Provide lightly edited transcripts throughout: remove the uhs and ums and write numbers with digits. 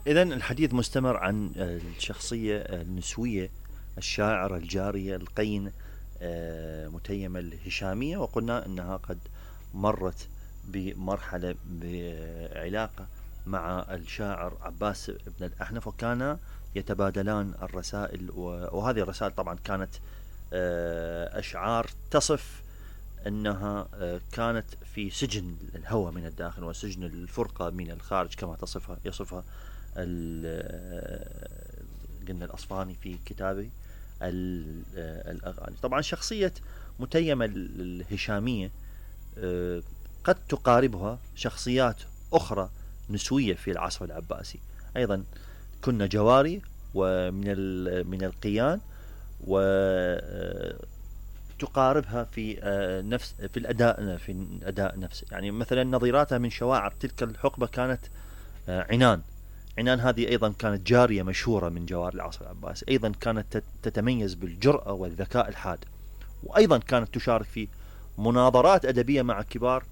إذا الحديث مستمر عن الشخصية النسوية الشاعرة الجارية القينة متيمة الهشامية، وقلنا أنها قد مرت بمرحلة بعلاقة مع الشاعر عباس بن الأحنف، وكانا يتبادلان الرسائل، وهذه الرسائل طبعا كانت أشعار تصف أنها كانت في سجن الهوى من الداخل وسجن الفرقة من الخارج، كما يصفها قلنا الأصفهاني في كتابه الأغاني. طبعا شخصية متيمة الهشامية قد تقاربها شخصيات أخرى نسوية في العصر العباسي، أيضا كنا جواري ومن القيان، وتقاربها في الأداء نفسه. يعني مثلا نظيراتها من شواعر تلك الحقبة كانت عنان هذه أيضا كانت جارية مشهورة من جوار العصر العباسي، أيضا كانت تتميز بالجرأة والذكاء الحاد، وأيضا كانت تشارك في مناظرات أدبية مع كبار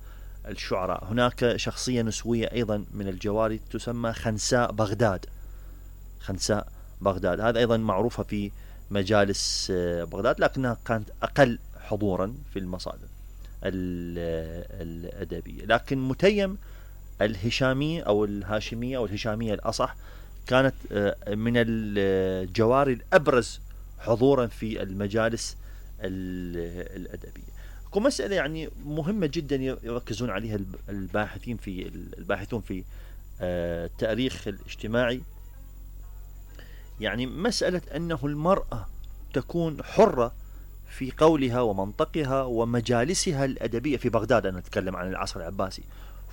الشعراء. هناك شخصية نسوية أيضا من الجواري تسمى خنساء بغداد، هذا أيضا معروفة في مجالس بغداد، لكنها كانت أقل حضورا في المصادر الأدبية. لكن متيم الهشامية أو الهاشمية أو الهشامية الأصح كانت من الجواري الأبرز حضورا في المجالس الأدبية. مسألة يعني مهمة جدا يركزون عليها الباحثون في التاريخ الاجتماعي، يعني مسألة أنه المرأة تكون حرة في قولها ومنطقها ومجالسها الأدبية في بغداد. أنا أتكلم عن العصر العباسي،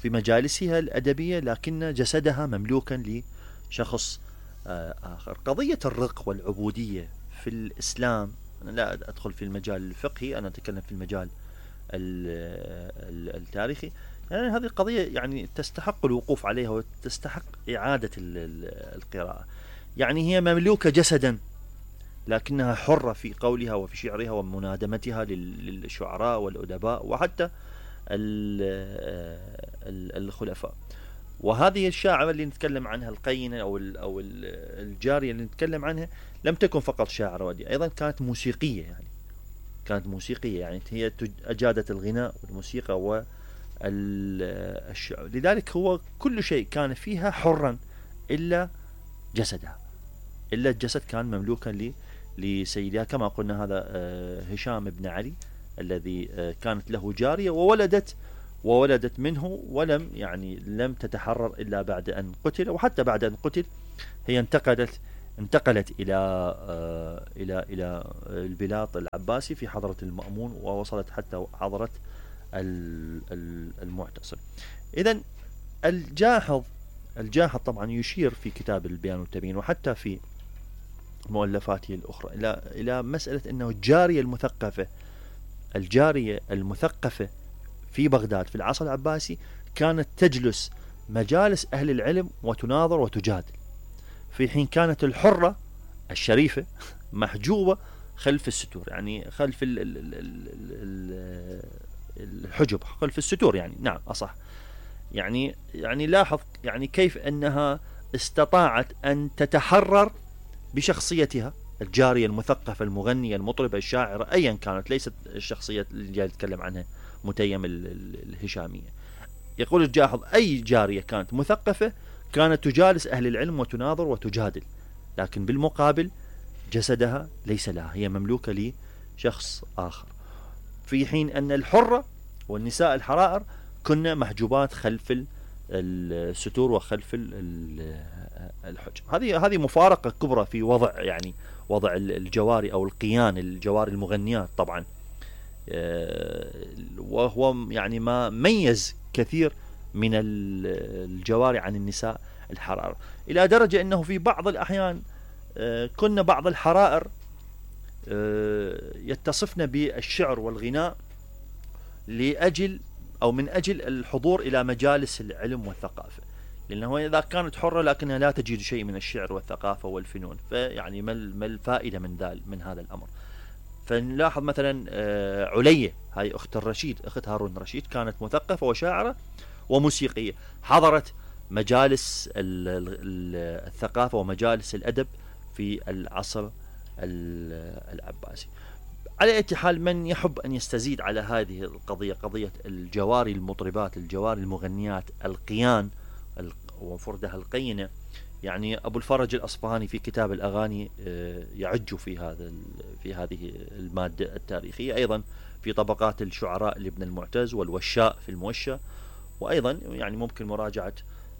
في مجالسها الأدبية، لكن جسدها مملوكا لشخص آخر. قضية الرق والعبودية في الإسلام، أنا لا أدخل في المجال الفقهي، أنا أتكلم في المجال التاريخي. يعني هذه القضية يعني تستحق الوقوف عليها وتستحق إعادة القراءة. يعني هي مملوكة جسدا، لكنها حرة في قولها وفي شعرها ومنادمتها للشعراء والأدباء وحتى الخلفاء. وهذه الشاعرة اللي نتكلم عنها القينة أو الجارية اللي نتكلم عنها لم تكن فقط شاعرة ودي، أيضا كانت موسيقية. يعني هي أجادت الغناء والموسيقى والشعر، لذلك هو كل شيء كان فيها حرا إلا جسدها، إلا الجسد كان مملوكا لسيدها. كما قلنا هذا هشام بن علي الذي كانت له جارية وولدت منه، لم تتحرر إلا بعد أن قتل، وحتى بعد أن قتل هي انتقلت إلى البلاط العباسي في حضرة المأمون، ووصلت حتى حضرة المعتصم. إذن الجاحظ طبعا يشير في كتاب البيان والتبيين وحتى في مؤلفاته الأخرى إلى مسألة أنه الجارية المثقفة في بغداد في العصر العباسي كانت تجلس مجالس أهل العلم وتناظر وتجادل، في حين كانت الحرة الشريفة محجوبة خلف الستور، يعني خلف الحجب، خلف الستور، يعني نعم أصح. يعني لاحظ يعني كيف أنها استطاعت أن تتحرر بشخصيتها، الجارية المثقفة المغنية المطربة الشاعرة أيا كانت، ليست الشخصية اللي جاي نتكلم عنها متيم الهشامية. يقول الجاحظ أي جارية كانت مثقفة كانت تجالس أهل العلم وتناظر وتجادل، لكن بالمقابل جسدها ليس لها، هي مملوكة لشخص آخر، في حين أن الحرة والنساء الحرائر كنا محجوبات خلف الستور وخلف الحجب. هذه مفارقة كبرى في وضع الجواري أو القيان، الجواري المغنيات طبعا، وهو يعني ما ميز كثير من الجواري عن النساء الحرائر، إلى درجة أنه في بعض الأحيان كنا بعض الحرائر يتصفن بالشعر والغناء من أجل الحضور إلى مجالس العلم والثقافة، لأنه إذا كانت حرة لكنها لا تجد شيء من الشعر والثقافة والفنون، فيعني ما الفائدة من هذا الأمر. فنلاحظ مثلا علية، هاي أخت هارون الرشيد، كانت مثقفة وشاعرة وموسيقية، حضرت مجالس الثقافة ومجالس الأدب في العصر العباسي. على أي حال، من يحب أن يستزيد على هذه القضية، قضية الجواري المطربات، الجواري المغنيات، القيان وفردها القينة، يعني أبو الفرج الأصفهاني في كتاب الأغاني يعج في هذه المادة التاريخية. أيضا في طبقات الشعراء لابن المعتز والوشاء في الموشى. وأيضا يعني ممكن مراجعة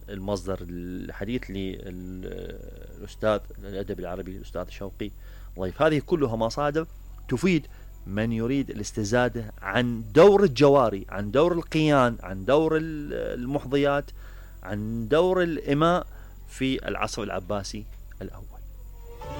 المصدر الحديث للأستاذ الأدب العربي الأستاذ شوقي ضيف. هذه كلها مصادر تفيد من يريد الاستزادة عن دور الجواري، عن دور القيان، عن دور المحظيات، عن دور الإماء في العصر العباسي الأول.